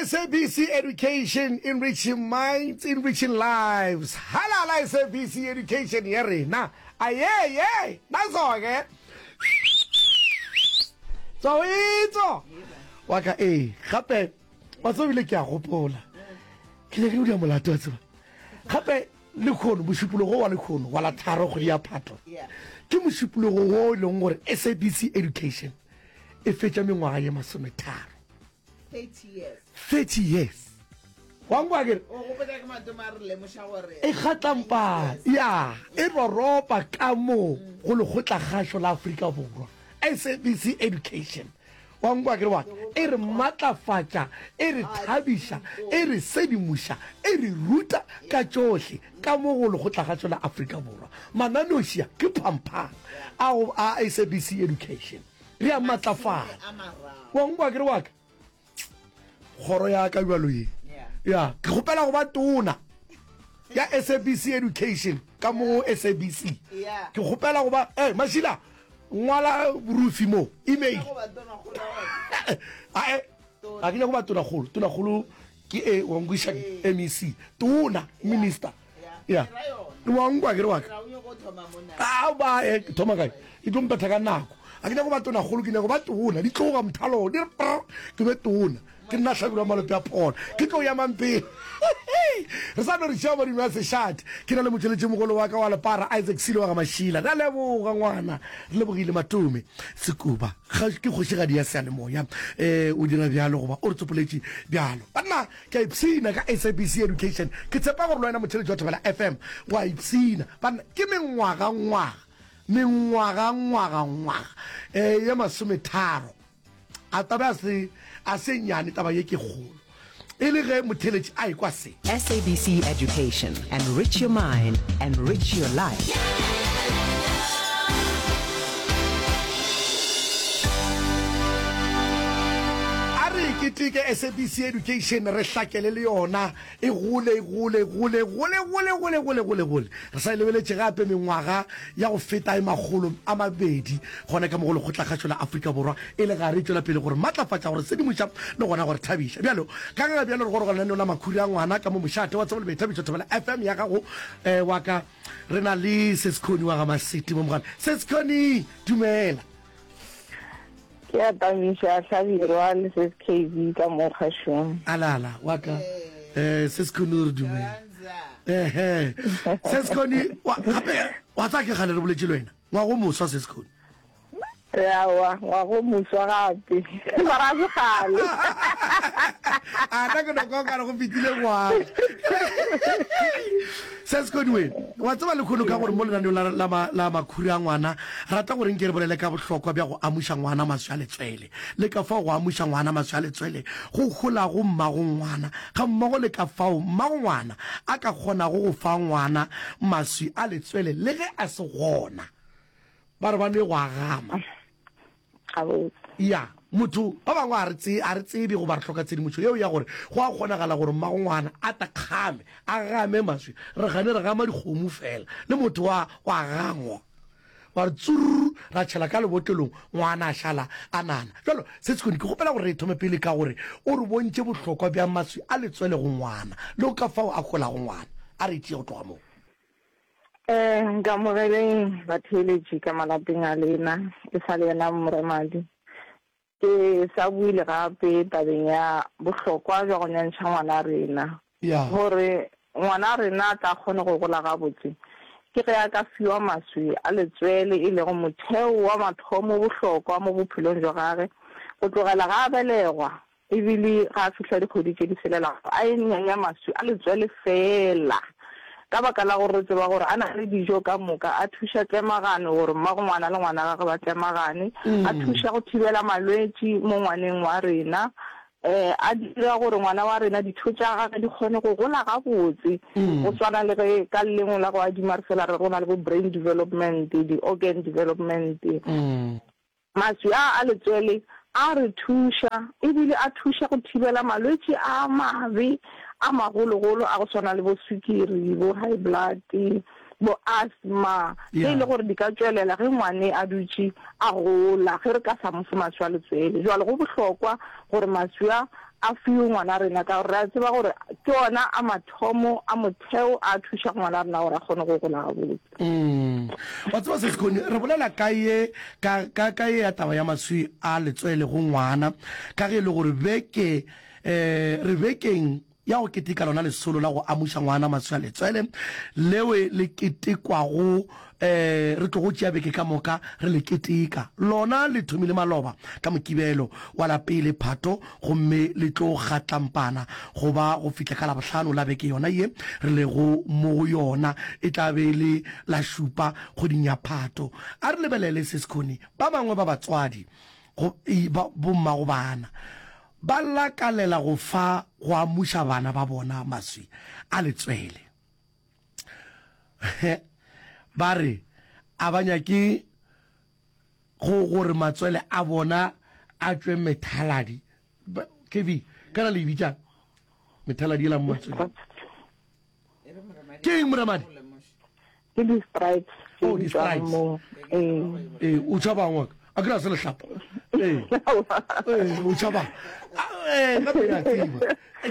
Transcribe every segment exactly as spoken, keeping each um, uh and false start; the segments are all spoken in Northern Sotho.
S A B C Education, enriching minds, enriching lives. Halala S A B C Education ya rena. Aye ye, nazo-ke. Tso itso. Wa ka eh gape wa tseba bile ke a gopola. Ke nyake go dia molato wa tseba. Gape le khono mošupologo wa lekhono wa la tharo kgwedi ya Phato. Ke mošupologo wo e leng gore S A B C Education e fetša mengwaga ye masometharo. thirty years. thirty years. Wa nkwa kere? O gopotša ke matome a re lemoša gore E kgatlampa ya e roropa ka mo go lekgotlakgašo la Afrika Borwa. S A B C Education. Wa nkwa kere wa e re matlafatša, e re thabiša, e re sedimoša, e re ruta ka tšohle ka mo go lekgotlakgašo la Afrika Borwa. Mananošia ke phamphang a go a S A B C Education. Re a matlafala. A mararo. Wa nkwa kere wa ka kgoro ya ka bjalo ye. Yeah. Ya, ke kgopela go ba tona ya S A B C Education ka mo S A B C. Yeah. Ke kgopela go ba eh Mashila, ngwala Rufi mo email. Go ba tona kgolo ya gona. Ae, ga ke nyako ba tona kgolo. Tona kgolo ke e wa nkwiša M E C. Tona minister. Yeah. Ya. Ke ra yona. Wa nkwa ke re wa ka. Ra o nyoko thoma mona. A ba e thoma kae? E tlo mpetha ka nako. A ke nyako ba tona kgolo, ke nyako ba tona. Di tloga mothalo, di re prr, ke be tona. Ke nna Hlabirwa Malope a phona. Ke tlo ya mampeng. Re sa no re tšea madimo a sešate. Ke na le motšweletšimogolo wa ka wa lepara Isaac Silo wa ga Mašila. Re a leboga ngwana. Re lebogile Matome Sekuba. Ga ke kgošigadi ya seyalemoya. Eh o dira bjalo goba o re tsopoletše bjalo. Banna ke a ipshina ka S A B C Education. Ke tshepa gore le wena motheletši wa Thobela F M wa ipshina. Banna ke mengwaga ngwaga. Mengwaga ngwaga ngwaga. Eh ye masometharo. A taba a se a se nyane, taba ye ke kgolo. E le ge motheletši a ekwa se. S A B C Education. Enrich your mind, enrich your life. A re keteke S A B C Education, re hlakele le yona e gole, e gole, e gole, e gole, gole, gole, gole, gole, gole. Re sa e lebeletše gape mengwaga ya go feta e makgolo a mabedi gona ka mo go lekgotlakgašo la Afrika Borwa e le gare e tšwela pele gore matlafatša, gore sedimoša le gona gore thabiša. Bjalo ka ge bjalo re goroga lenaneo la Makhura a Ngwana ka mo mošate wa tsebo le boithabišo Thobela F M ya gago eh, wa ka re na le Sesikhoni wa ga Maseti mo mogala. Sesikhoni, dumela. Ke a tamiša Hlabirwa le Sis K B ka mo kgašong. Alala wa ka eh Sesikhoni o re dumela. Ehe. Sesikhoni wa gape wa tsaya ke gale re boletše le wena. Ngwago moswa Sesikhoni. Aowa, ngwago moswa gape. Mara a se kgale. A nna ke no kwa okare go fetile ngwaga. Sesikhoni we, wa tseba lekhono ka gore mo lenaneong la, la, ma, la Makhura a Ngwana, rata gore nke re bolele ka bohlokwa bja go amuša ngwana maswi a letswele, le ka fao go amuša ngwana maswi a letswele go holago mmago ngwana, ga mmogo le ka fao mmago ngwana a ka kgonago go fa ngwana maswi a letswele le ge a se gona. Ba re ba nwe go a gama. Gabotse. Ya, motho ba bangwe a re tse a re tsebe goba re hloka tshedimošo yeo ya gore go a kgonagala gore mmago ngwana a ta kgame a game maswi. Re gane re gama dikgomo fela le motho wa wa gangwa wa re tsurr ra tšhela ka lebotlelong ngwana a šala a nana. Bjalo Setskhoni ke kgopela gore re thome pele ka gore o re bontše bohlokwa bja maswi a letswele go ngwana le ka fao a holago ngwana. A re tšee go tloga moo. Eh, nkamogeleng batheeletši ka malapeng a lena, e sa le yena Moremadi. Ke sa buile gape tabeng ya bohlokwa bja go nyantšha ngwana rena. Ya. Gore ngwana rena a tla kgone go gola gabotse, ke ge a ka fiwa maswi a letswele e lego motheo wa mathomo bohlokwa mo bophelong bja gage go tlogela ga a belegwa ebile ga a fihla dikgwedi tše di selelago a e nyanya maswi a letswele feela ka baka la gore re tseba gore a na le dijo ka moka, a thuša tlemagano gore mmago ngwana le ngwana gagwe ba tlemagane, a thuša go thibela malwetši mo ngwaneng wa rena, um a dira gore ngwana wa rena ditho tša gagwe di kgone go gola gabotse, go swana le ge ka lelengwe la go adima re fela re go na le bo brain development, di-organ development. Maswi a a letswele a re thuša ebile a thuša go thibela malwetši a mabe a magologolo a go swana le bo swikiri, bo high blood, bo asthma, tše e le gore di ka tšwelela ge ngwane a dutše a gola ge re ka sa mo fe maswi a letswele. Jwale go bohlokwa gore maswi a a fiwe ngwana rena ka gore re a tseba gore ke ona a mathomo a motheo a thušago ngwana rena gore a kgone go gola gabotse. Mm. Wa tseba se Sekhoni, re bolela ka ye ka ka ka ye ya taba ya maswi a letswele go ngwana ka ge e le gore beke eh re bekeng ya go keteka lona lesolo la go amuša ngwana maswi a letswele lewe le ketekwago eh re tlogo tšea beke ka moka re le keteka. Lona le thomile maloba ka Mokibelo wa la pele Phato gomme le tlo kgatlampana go ba go fihla ka Labohlano la beke yona ye re lego mo go yona, e tla be e le la šupa kgweding ya Phato. A re lebelele se Sekhoni, ba bangwe ba batswadi go ba bommago bana ba lakalela go fa go amuša bana ba bona maswi a letswele. Ba re a ba nyake go gore matswele a bona a tšwe methaladi. K V, kana le e bitšang methaladi yela mo matsweleng? Ke eng Moremadi? Ke di-stripes tše Oh, di tšwang di-stripes. mo. Ee. Ee, o tšhabang wa ka? A ke re a se lehlapa. Ee, ee, o tšhabang. Ee, gape ke a tseba.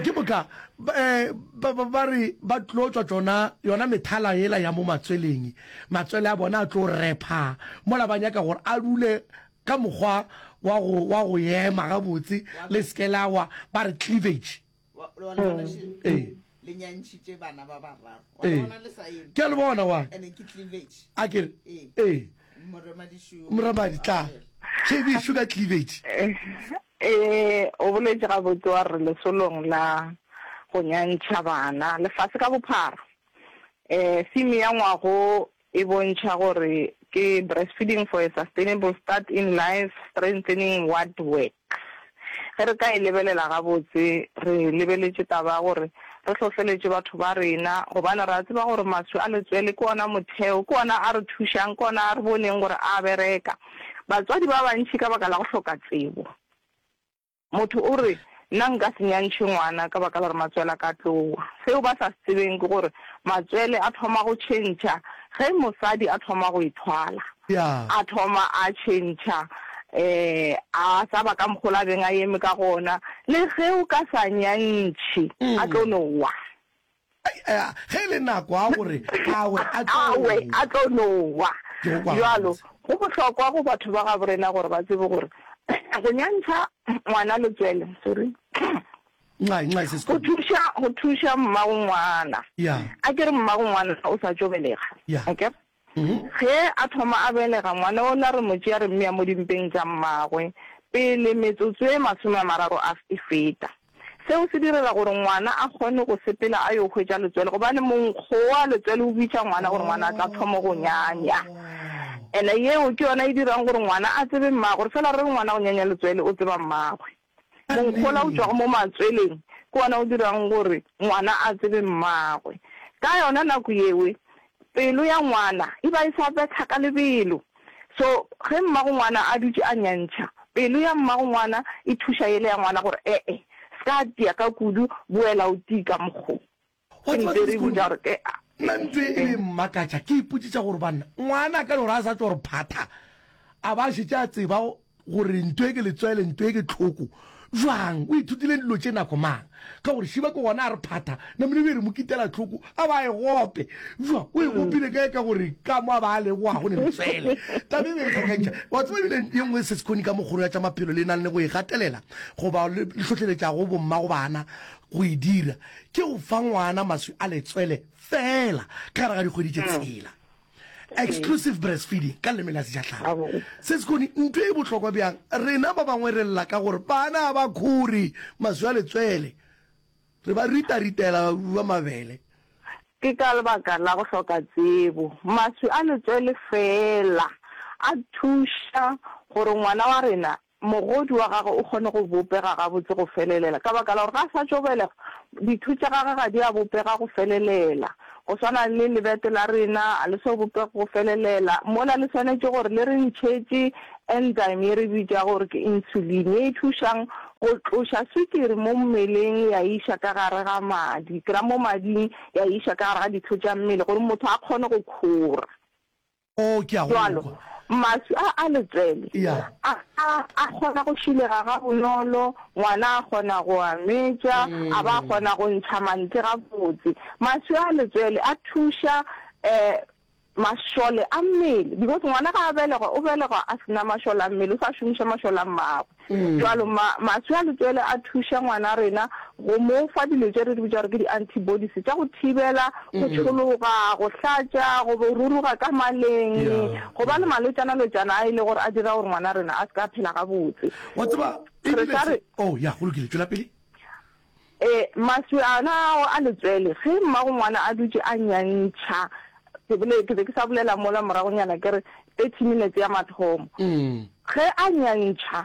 Ke moka eh, ba, ba, ba re ba tlo tšwa tšona yona methala yela ya mo matsweleng, matswele a bona a tlo repha mola ba nyaka gore a dule ka mokgwa wa go, wa go ema gabotse, le se ke la wa, ba re cleavage. Wa- wa le bona še- Ee. le nyantšhitše bana ba bararo. Wa le Ee. bona le sa eme. Ke a le bona wa. Ene ke cleavage. A ke re, Ee. ee. Moremadi šo. Moremadi tla. K V šo ka cleavage. Ee, o boletše gabotse wa re lesolong la go nyantšha bana lefase ka bophara. Eh, theme ya ngwago e bontšha gore ke breastfeeding for a sustainable start in life, strengthening what works. Ge re ka e lebelela gabotse, re lebeletše taba ya gore re hlohleletše batho ba rena, gobane re a tseba gore maswi a letswele ke ona motheo, ke ona a re thušang, ke ona a re boneng gore a bereka. Batswadi ba bantši ka baka la go hloka tsebo, motho o re nna nka se nyantšhe ngwana ka baka la gore matswele a ka tlowa. Seo ba sa se tsebeng ke gore matswele a thoma go tšhentšha ge mosadi a thoma go ithwala. Ya. A thoma a tšhentšha, eh, a sa ba ka mokgola beng a eme ka gona, le ge o ka sa nyantšhe, a tlo no wa. Ai, eh, ge e le nako a gore a we, a tlo A we, a tlo no wa. Ke go kwa Bjalo, gabotse. go bohlokwa go batho ba gabo rena gore ba tsebe gore go nyantšha ngwana letswele, sorry. Nxai, nxai se Go sekolo. thuša, go thuša mmago ngwana. Ya. A ke re mmago ngwana o sa tšo belega. Ya. Akere? Mhm. Ge a thoma a belega ngwana ola re mo tšea re mmea mo dimpeng tša mmagwe pele metsotso e masome a mararo a e feta. Seo se direla gore ngwana a kgone go sepela a yo hwetša letswele, gobane monkgo wa letswele o bitša ngwana gore ngwana a tla thoma go nyanya. Ene yeo ke yona e dirang gore ngwana a tsebe mmagwe, gore fela re re ngwana o nyanya letswele o tseba mmagwe. Monkgola o tšwago mo matsweleng ke wona o dirang gore ngwana a tsebe mmagwe. Ka yona nako yewe pelo ya ngwana e ba e sa betha ka lebelo. So ge mmago ngwana a dutše a nyantšha, pelo ya mmago ngwana e thuša yele ya ngwana gore ee, se ka tia ka kudu, boela o tii ka mokgo. Wa Ke tseba ntse se re Sekhoni, botša gore ke nna ntho e be mmakatša, ke ipotšiša gore banna ngwana a ka no gore a sa tšwa gore phatha, a ba šetše a tseba gore ntho e ke letswele, ntho e ke tlhoko jwang, o ithutile dilo tše nako mang, ka gore šiba ke gona a re phatha, namile be re mo kitela tlhoko, a ba e gope jwang, o e gopile kae, ka gore ka mo a ba a leboga go ne letswele. Taba e be e kgakantšha. Wa tseba ebile ye nngwe se Sekhoni ka mokgoro ya tša maphelo le nang le go e gatelela goba le hlohleletšago bommago bana go e dira, ke go fa ngwana maswi a letswele fela ka gare ga dikgwedi tše tshela. Exclusive breastfeeding ka leleme la sejatlhapi. Se Sekhoni, ntho e bohlokwa bjang, rena ba bangwe re lla ka gore bana ba khore maswi a letswele, re ba rita-ritela ba mabele. Ke ka lebaka la go hloka tsebo. Maswi a letswele fela a thuša gore ngwana wa rena mogodi wa gagwe o kgone go bopega gabotse go felelela, ka baka la gore ga a sa tšo belega ditho tša gagwe ga di a bopega go felelela. Go swana le lebete la rena a le so bopege go felelela, mola le swanetše gore le re ntšhetše enzyme ye re bitša gore ke insulin, ye e thušang go tloša swikiri mo mmeleng ya iša ka gare ga madi, ke ra mo mading ya iša ka gare ga ditho tša mmele gore motho a kgone go khora. Oh, ke a go Jwalo, kwa. Maswi a a letswele Yeah. a a a kgona go šilega gabonolo, ngwana a kgona go a metša, a ba a kgona go ntšha mantle gabotse. Maswi a letswele a thuša um mašole a mmele because ngwana ga a belegwa o belegwa a se na mašole a mmele, o sa šomiša mašole a mmagwe. Bjalo ma, maswi a letswele a thuša ngwana rena go mo fa dilo tše re di bitša gore ke di-antibodies tša go thibela go tšhologa, go hlatša, go ruruga ka maleng, go ba le malwetšana-lwetšana a e le gore a dira gore ngwana rena a se ka phela gabotse. Wa tseba, Re ebile sa se, re. oh ya, go lokile, tšwela pele. Ee, maswi ana ao a letswele, ge mmago ngwana a dutše a nyantšha, ke bole, ke be ke sa bolela mola moragonyana ke re thirty minutes ya mathomo, ge a nyantšha,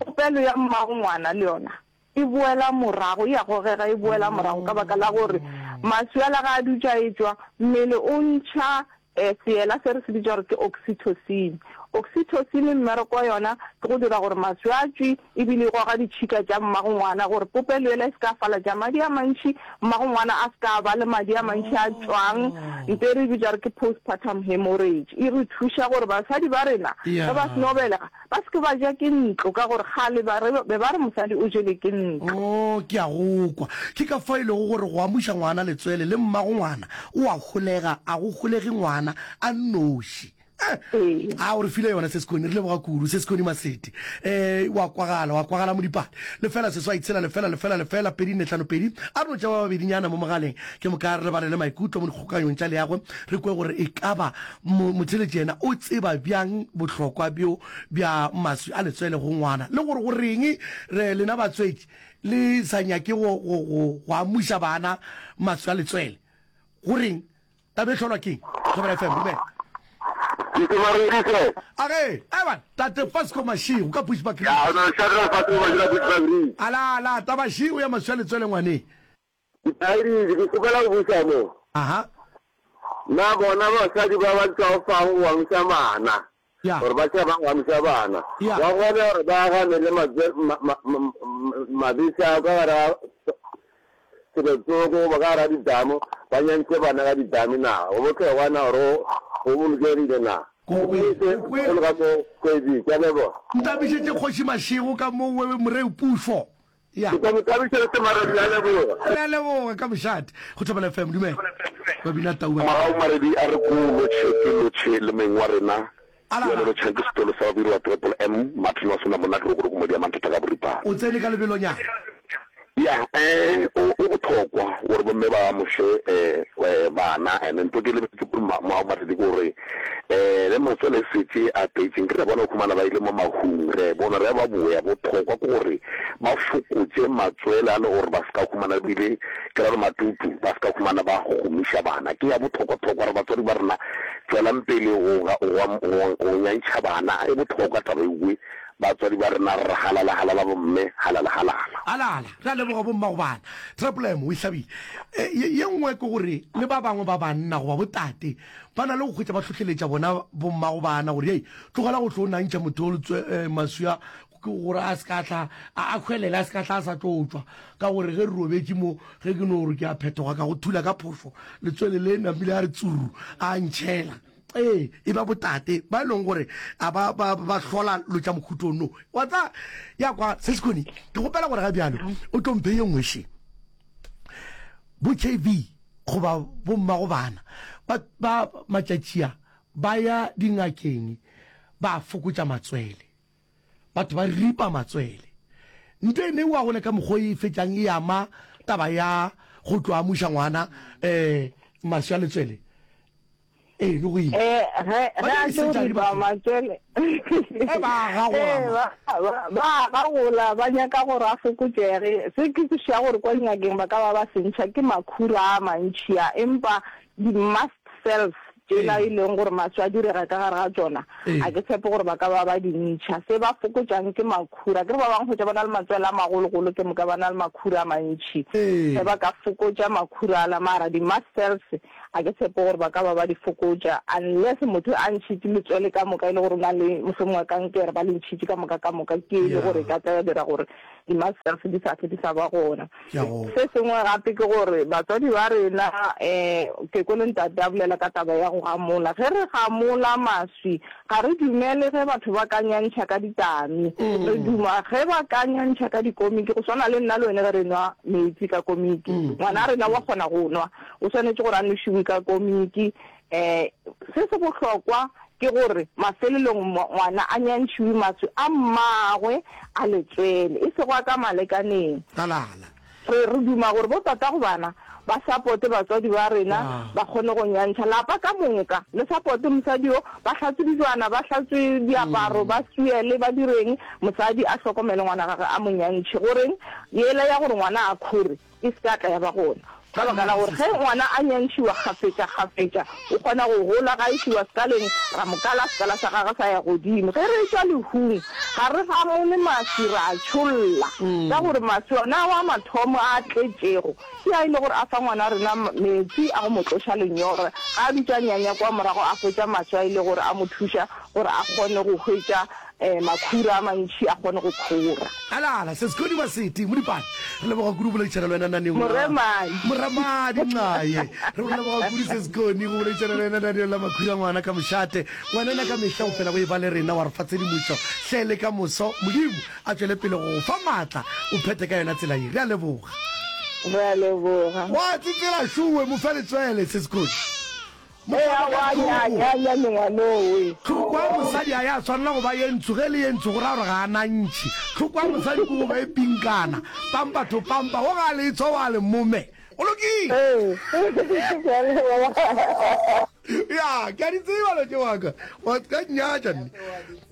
popelo ya mmago ngwana le yona e boela morago, e a gogega e boela morago ka baka la gore maswi ala ge a dutše a etšwa, mmele o ntšha Seela se re se bitša gore ke oxytocin. Oxytocin mmereko wa yona ke go dira gore maswi a tšwe ebile e goga ditšhika tša mmago ngwana gore popelo yela e se ka falatša madi a mantši, mmago ngwana a se ka ba le madi a mantši a tšwang, nto e re e bitša gore ke postpartum hemorrhage. E re thuša gore basadi ba rena ge ba seno belega ba se ke ba ja ke ntlo ka gore kgale ba re be ba re mosadi o jele ke ntlo. Oh, ke a go kwa. Ke ka fao e lego gore go amuša ngwana letswele le mmago ngwana o a holega, a go holege ngwana a nnoši. Eh, Ee. a o re file yona Sesikoni, re leboga kudu Sesikoni Masete. Eh, wa kwagala, wa kwagala Modipane. Lefela seswai tshela lefela lefela lefela pedi nne hlano pedi. A re no tšea ba babedinyana mo mogaleng, ke moka re balele maikutlo mo dikgokanyong tša leago, re kwe gore e ka ba mo, motheeletši yena o tseba bjang bohlokwa bjo bja maswi a letswele go ngwana, le gore go reng re lena batswetši le sa nyake go, go, go, go amuša bana maswi a letswele. Go reng? Taba e hlolwa keng? Thobela F M, dumela. Ke Maredise. A ge, Evan, Tate Fasco Mashego ka Bushbuck Ridge. Ya, no, Shadrack Fasco Mashego ka Bushbuck Ridge. Ala, ala, taba šego ya maswi a letswele ngwaneng. Ke Thaeditše, ke kgopela go buša mo. Aha. Na bona basadi ba ba tšwafago go amuša bana, Ya. gore ba tšhaba go amuša bana, Ya. ba kgone gore ba gane le matswe, ma, ma, ma, mabese a ka gare ga selotsoko goba ka gare ga didamo, ba nyantšhe bana ka didame na? Go bohlokwa na gore go bolokegile na? Ko kwele, ko kwele. Go le ka mo kgwedi, ke a leboga. Ntabišetše Kgoši Mašego ka mo wewe Moreu Pušo. Ya. Ke tla mo tabiša le Semaredi, a leboga. Re a leboga ka mošate. Go Thobela F M, dumela. Ba bina tau ba. Mogau Maredi a re ko lotšhe ke lotšhe le meng wa rena. Ala. Bjale lotšhang ke setolo sa babiri wa Triple M, Martin wa Sona monna ke re gore ko modi ya manthata ka boripana. O tsene ka lebelonyana. Ya, eh, o, o bothokwa gore bomme ba amoše, eh, eh, bana. And ntho ke lebetše kudu ma, Mogau Maredi ke gore, eh, le matswele e setše a tletše. Nke re bona o humana ba ile mo mahung, re bona re ba boya. Bothokwa ke gore ba fokotše matswele a le gore ba se ka humana ebile ke ra gore matutu ba se ka humana ba gomiša bana. Ke ya bothokwa-thokwa re batswadi ba rena tšwelang pele go, go, go, go nyantšha bana. E bothokwa taba ewe. Batswadi ba rena re re halala halala bomme halala halala. Halala, re a leboga bommago bana. Triple M o e hlabile. E, ye, ye nngwe ke gore le ba bangwe ba banna goba botate ba na le go hwetša ba hlohleletša bona bommago bana gore hei tlogela go tlo nantšha motho o letswe, eh, maswi a ke gore a se ka tla a, a hwelele a se ka tla a sa tlo tšwa ka gore ge re robetše mo ge ke no gore ke a phetoga ka go thula ka phošo letswele le namile a re tsuru a ntšhela. Ee, e ba botate ba e leng gore a ba ba ba hlola lo tša mohuto no. Wa tsa ya kwa se sekhoni ke gopela gore ga bjalo o tlo mphe ye nngwe še. Bo K V goba bo mmago bana ba ba matšatši a ba ya dingakeng ba fokotša matswele. Batho ba ripa matswele. Nto e neiwa gone ka mokgwa e fetšang e ama taba ya go tlo amuša ngwana eh maswi a letswele. Ee, le go ima. Eh, ge Ba ge a dira tlo disurgery ripa batho. matswele. Eh, ba a gagola Eh, ma. ba, ba, ba a gagola, ba nyaka gore a fokotšege. Se ke kwešiša gore kwa dingakeng ba ka ba ba se ntšha ke makhura a mantši a, empa di-mast cells tšela Ee. e leng gore maswi a direga ka gare ga tšona, Ee. a ke tshepe gore ba ka ba ba di ntšha. Se ba fokotšang ke makhura. Akere ba bangwe hwetša ba na le matswele a magologolo ke moka ba na le makhura a mantši. Ee. Ge ba ka fokotša makhura ala, mara di-mast cells ga ke tshepe gore ba ka ba ba di fokotša unless motho a ntšhitše letswele ka moka e le gore o na le mohlomongwe kankere, ba le ntšhitše ka moka ka moka, ke e le gore e ka tla ya dira gore di-mast cells di sa hlwe di sa ba gona. Se sengwe gape ke gore batswadi ba rena, um ke kwele ntate a bolela ka taba ya go gamola. Ge re gamola maswi, ga re dumele ge batho ba ka nyantšha ka ditami. Re duma ge ba ka nyantšha ka dikomiki, go swana le nna le wene ge re nwa meetse ka komiki. Ngwana rena wa kgona go nwa, o swanetše gore a nwešiwe ka komiki. Um se se bohlokwa ke gore mafelelong ngwana a nyantšhiwe maswi a mmagwe a letswele, e sego a ka malekaneng. Talala. Re, re duma gore bo tatago bana ba sapote batswadi ba rena, ba kgone go nyantšha lapa ka moka. Le sapote mosadi yo, ba hlatswe dijwana, ba hlatswe diaparo, ba swiele, ba direng, mosadi a hlokomele ngwana gagwe, a mo nyantšhe. Goreng yela ya gore ngwana a khore e se ka tla ya ba gona? Ka baka la gore ge ngwana a nyantšhiwa kgafetša-kgafetša, o kgona go gola. Ga a išiwa sekaleng, ra mo kala, sekala sa gagwe sa ya godimo. Ge re etšwa lehung, ga re gamole maswi, ra a tšholla. Ka gore maswi ona ao a mathomo a a tletšego, ke a e le gore a fa ngwana rena meetse a go mo tloša lenyora. Ga a dutše a nyanya kua morago, a hwetša maswi a e le gore a mo thuša gore a kgone go hwetša makhura a mantši a kgone go khora. Alala, Seskhodi Maseti, Modipane, re leboga kudu go boledišana le wena naneong la. Moremadi. Moremadi Nxaye. Re go leboga kudu Seskhoni go boledišana le wena naneong la Makhura Ngwana ka Mošate. Ngwanana ka mehla o fela o eba le rena wa re fa tshedimošo hle le ka moso. Modimo a tšwele pele go go fa maatla o phethe ka yona tsela ye. Re a leboga. Re a leboga. Wa tsetsela šowe mo fe letswele Seskhoni. Tlhoko ya mosadi ga ya swanela go ba ye ntsho. Ge e le ye ntsho go ra gore ga a na ntšhi. Tlhoko ya mosadi ke go ba e pinkana, pampa to pampa. Wo ga a le tshwa wa le mome. Go lokile. Ya, ke a di tseba lo tše wa ka. Wa ka nnyatša nne.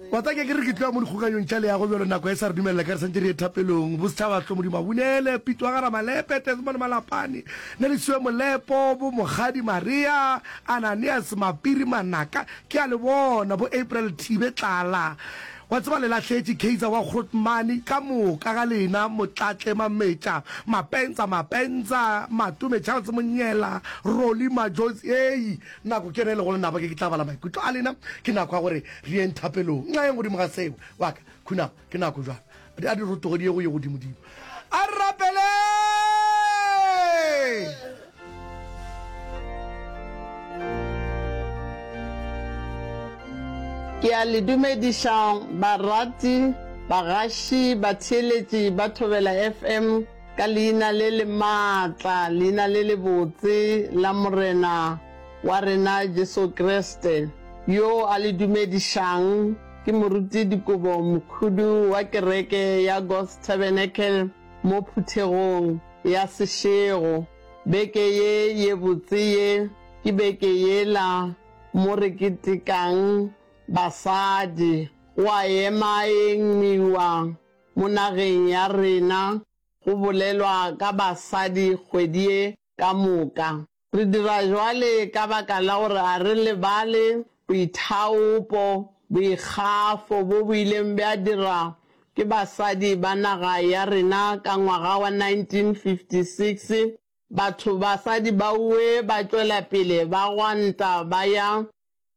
Wa tseba ke ke re ke tloya mo dikgokanyong tša leago bjalo nako e sa re dumelela ka re santše re ye thapelong. Bosetšhaba hlomodi Mabunele, Pitso wa ga Ramalepe, Desmond Malapane, Nelisiwe Molepo, bo Mokgadi Maria, Ananias Mapiri Manaka, ke a le bona, bo April Thibe Tlala. Wa tseba le lahletše Kaizer wa Grootmane ka moka ga lena, Motlatle Mametša, Mapentsa Mapentsa, Matome Charles Monyela, Rolly Majozi, hei, Nako ke yona e lego lenaba, ke ke tla bala maikutlo a lena. Ke nako ya gore re yeng thapelong. Nxa yeng godimo ga seo, wa ka, khunama, ke nako bjalo. A di rotoge di ye go ye godimodimo. A re rapeleng! Ke a le dumediša barati, bagaši, batheeletši ba Thobela FM. Ka leina le le maatla, leina le lebotse la Morena wa rena Jesu Kriste, yo a le dumedišang, ke Moruti Dikobo Mokhudu wa kereke ya God's Tabernacle mo phuthegong ya Seshego. Beke ye ye botse ye ke beke yela mo re ketekang basadi. Go a emaengmiwa Mo nageng ya rena go bolelwa ka basadi kgwedi ye ka moka. Re dira jwale ka baka la gore a re lebale boithaopo, boikgafo bo bo ileng bja dira ke basadi ba naga ya rena ka ngwaga wa nineteen fifty six Batho basadi baowe ba tšwela pele ba gwanta ba ya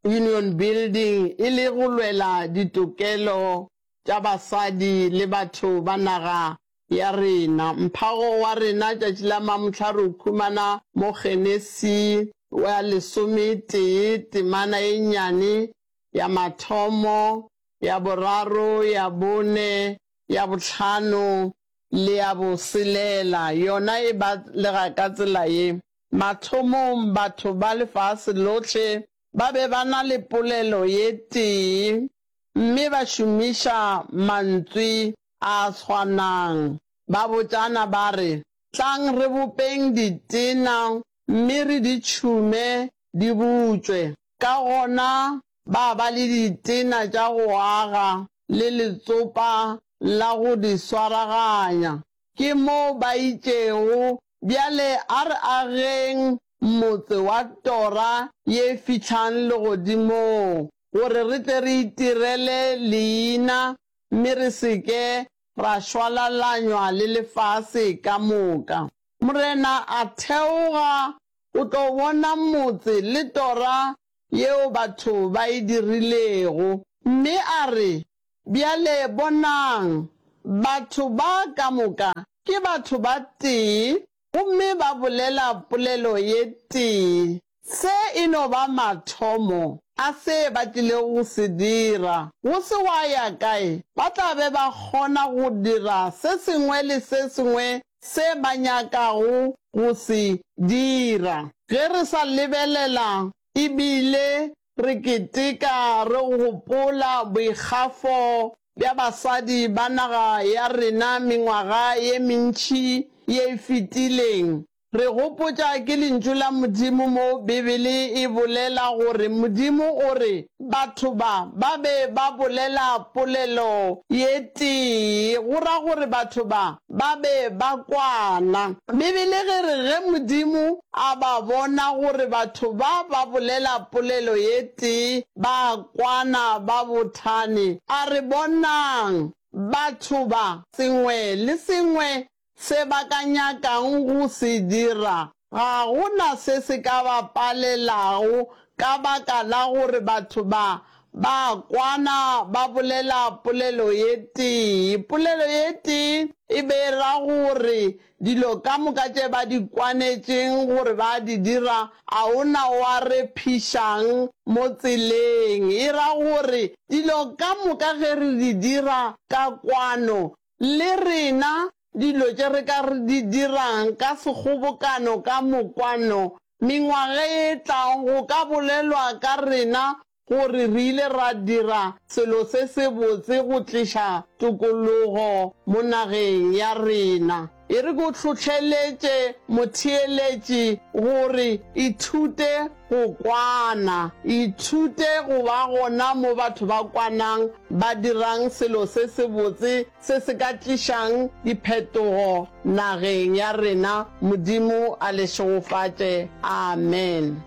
Union Building e le go lwela ditokelo tša basadi le batho ba naga ya rena. Mphago wa rena tšatši la mamohla re o khumana mo Genesi wa lesometee temana e nnyane ya mathomo, ya boraro, ya bone, ya bohlano le ya boselela. Yona e balega ka tsela ye, Mathomong batho ba lefase lohle ba be ba na le polelo ye tee mme ba šomiša mantswe a swanang. Ba botšana ba re, Tlang re bopeng ditena mme re di tšhume di butšwe. Ka gona ba ba le ditena tša go aga le letsopa la go di swaraganya. Ke moo ba itšego, Bjale a re ageng motse wa tora ye e fihlang legodimong, gore re tle re itirele leina mme re se ke ra šwalalanywa le lefase ka moka. Morena a theoga O tlo bona motse le tora yeo batho ba e dirilego. Mme a re, Bjale bonang, batho ba ka moka ke batho ba tee gomme ba bolela polelo ye tee. Se e no ba mathomo a se ba tlilego go se dira. Go se gwa ya kae, ba tla be ba kgona go dira se sengwe le se sengwe se ba nyakago go se dira. Ge re sa lebelela e bile re keteka re gopola boikgafo bja basadi ba naga ya rena mengwaga ye mentši ye e fetileng, Re gopotša ke Lentšu la Modimo mo Bibele e bolela gore Modimo o re batho ba ba be ba bolela polelo ye tee, go ra gore batho ba ba be ba kwana. Bibele ge re ge Modimo a ba bona gore batho ba ba bolela polelo ye tee ba kwana ba bothane, a re bonang batho ba sengwe le sengwe Se ba ka nyakang go se dira, ga go na se se ka ba palelago ka baka la gore batho ba ba kwana ba bolela polelo ye tee. Polelo ye tee e be e ra gore dilo ka moka tše ba di kwanetšeng gore ba di dira a o na wa re phišang mo tseleng. E ra gore dilo ka moka ge re di dira ka kwano Le rena, dilo tše re ka re di dirang ka sekgobokano ka mokwano, mengwaga e tlang go ka bolelwa ka rena gore re ile ra dira selo se sebotse go tliša tokologo mo nageng ya rena. E re ke o hlohleletše motheeletši gore ithute go kwana. Ithute go ba gona mo batho ba kwanang, ba dirang selo se sebotse se se ka tlišang diphetogo nageng ya rena. Modimo a le šegofatše. Amen.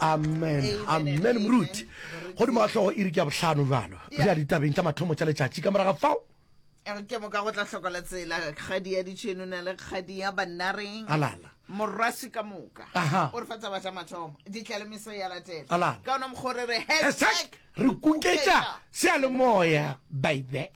Amen. Amen, moruti. Godimo ga hlogo iri ke ya bohlano bjalo. Re ya ditabeng tša mathomo tša letšatši ka morago ga fao. Ke moka go tla hlokola tsela kgadi ya ditšheno na le kgadi ya bannareng. Alala. Morwasi ka moka. Aha. O re fa taba tša mathomo. Ditlalemeso ya latela. Alala. Ka ona mokgwa o re re hashtag Hashtag re kuketša seyalemoya baby.